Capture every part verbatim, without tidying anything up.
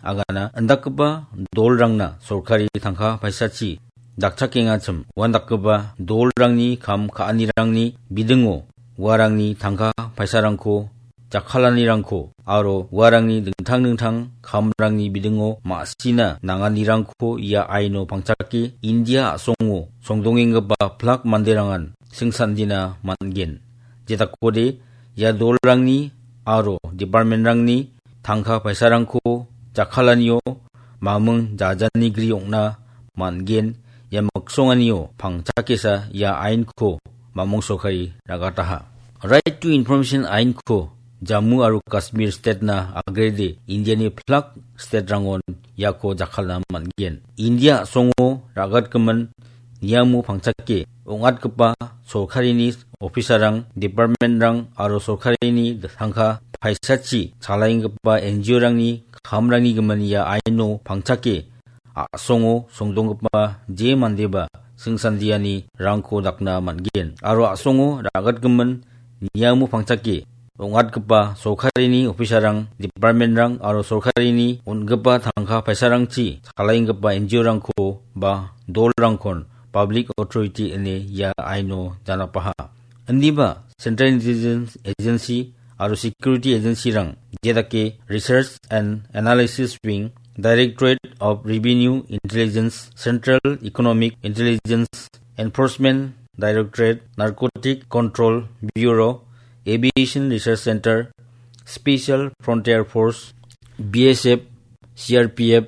agana indakgipa dolrangna sorkari tangka paisachi dakchakengachim uandakgipa dolrangni kam ka·anirangni bidingo uarangni tangka paisarangko jakkalanirangko aro uarangni dingtang dingtang kamrangni bidingo ma·sina nanganirangko ia aino pangchake India a·songo songdongenggipa plak manderangan singsandina man·gen. Jedakode ia dolrangni aro departmentrangni tangka paisarangko jakkalanio maming jajanigri ong·na man·gen. Ia miksonganio pangchakesa ia ainko mamong sorkari ragataha. Right to Information ainko Jammu aro Kashmir state-na agrede Indiani plak state-rangon iako jakkalna man·gen. India a·songo ra·gatgimin niamo pangchake ong·atgipa sorkarini officer-rang, department-rang aro sorkarini tangka paisachi chalaenggipa N G O-rangni kamrangni gimin ia aino pangchake a·songo songdonggipa je mandeba singsandiani rangko dakna man·gen. Aro a·songo ra·gatgimin niamo pangchake ong·atgipa sorkarini officer-rang, department-rang aro sorkarini on·gipa tangka paisarangchi chalaenggipa N G O-rangko ba dolrangkon public authority ine ia aino janapaha. Indiba Central Intelligence Agency aro Security Agency-rang jedake Research and Analysis Wing, Directorate of Revenue Intelligence, Central Economic Intelligence, Enforcement Directorate, Narcotic Control Bureau, Aviation Research Center, Special Frontier Force, B S F, C R P F,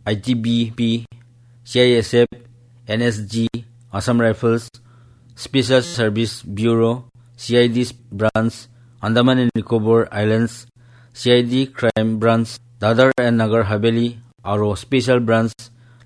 I T B P, C I S F, N S G, Assam Rifles, Special Service Bureau, C I D Branch, Andaman and Nicobar Islands, C I D Crime Branch, Dadar and Nagar Haveli, aro Special Branch,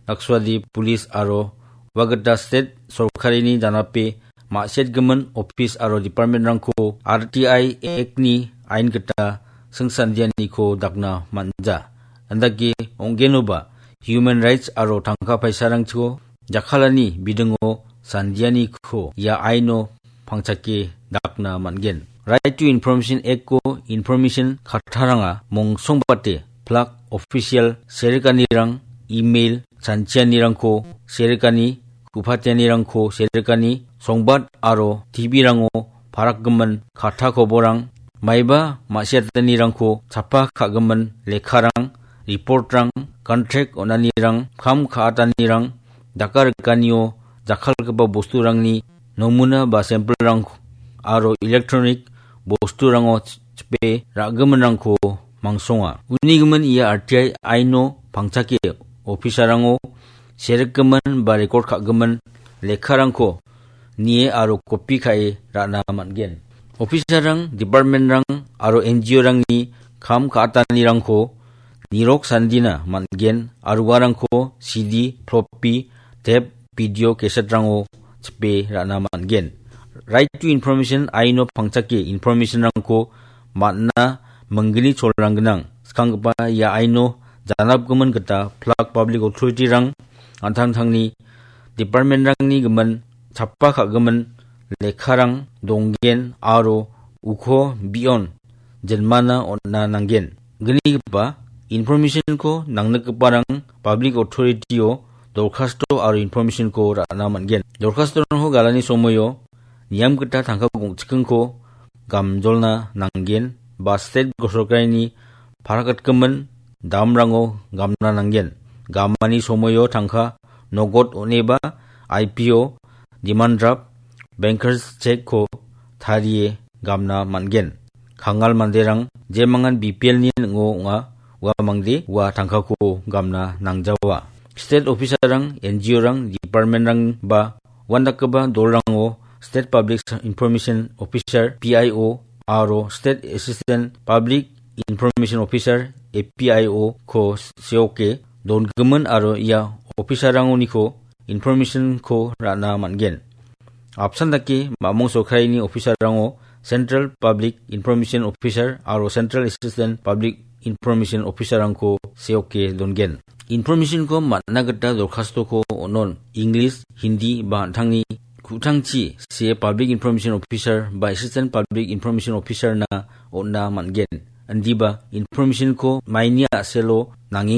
Lakshadweep Police aro uagita state sorkarini janape ma·setgimin office aro department-rangko R T I Act-ni ain gita singsandianiko dakna man·ja. Indake ong·genoba human rights aro tangka paisarangchiko jakkalani bidingo sandianiko ia aino pangchake dakna man·gen. Right to Information Act-ko information kattaranga mongsongbate plak official serikanirang, email chanchianirangko serikani, ku·patianirangko serikani, songbad aro T V-rango parakgimin katta koborang, maiba ma·siatanirangko chapa ka·gimin lekkarang, report-rang, contract on·anirang, kam ka·atanirang, daka rikanio jakkalgipa bosturangni nomuna ba sample-rang aro electronic bosturango chipe ra·giminrangko mangsonga. Uni gimin ia R T I aino pangchake officer-rango serikgimin ba record ka·gimin lekkarangko nie aro copy ka·e ra·na man·gen. Officer-rang, department-rang aro N G O-rangni kam ka·atanirangko nirok sandina man·gen aro uarangko C D, floppy, tape, video cassette-rango chipe ra·na man·gen. Right to Information aino pangchake information-rangko man·na minggni cholrang gnang. Skanggipa ia aino janapgimin gita plak public authority-rang an·tangtangni department-rangni gimin chapa ka·gimin lekkarang donggen aro uko bion jinmana on·na nanggen. Gnigipa information-ko nangnikgiparang public authority-o dorkasto aro information-ko ra·na man·gen. Dorkastorangko galani somoio niam gita tangka gongchikingko gamjolna nanggen ba state sorkarini parakatgimin damrango gamna nanggen. Gamani somoio tangka nogot on·eba I P O, demand draft, bankers check-ko tarie gamna man·gen. Kangal manderang jemangan B P L-ni ning·o ong·a, ua mangde ua tangkako gamna nangjawa. State officer-rang, N G O-rang, department-rang ba uandakgipa dolrango State Public Information Officer, P I O, aro State Assistant Public Information Officer, A P I O-ko seoke dongimin aro ia officer-rangoniko information-ko ra·na man·gen. Apsan dake mamong sorkarini officer-rango Central Public Information Officer aro Central Assistant Public Information Officer-rangko seoke dongen. Information-ko man·na gita dorkastoko on·on English, Hindi ba an·tangni ku·tangchi see Public Information Officer ba Assistant Public Information Officer-na on·na man·gen. Indiba information-ko maini a·selo nangeng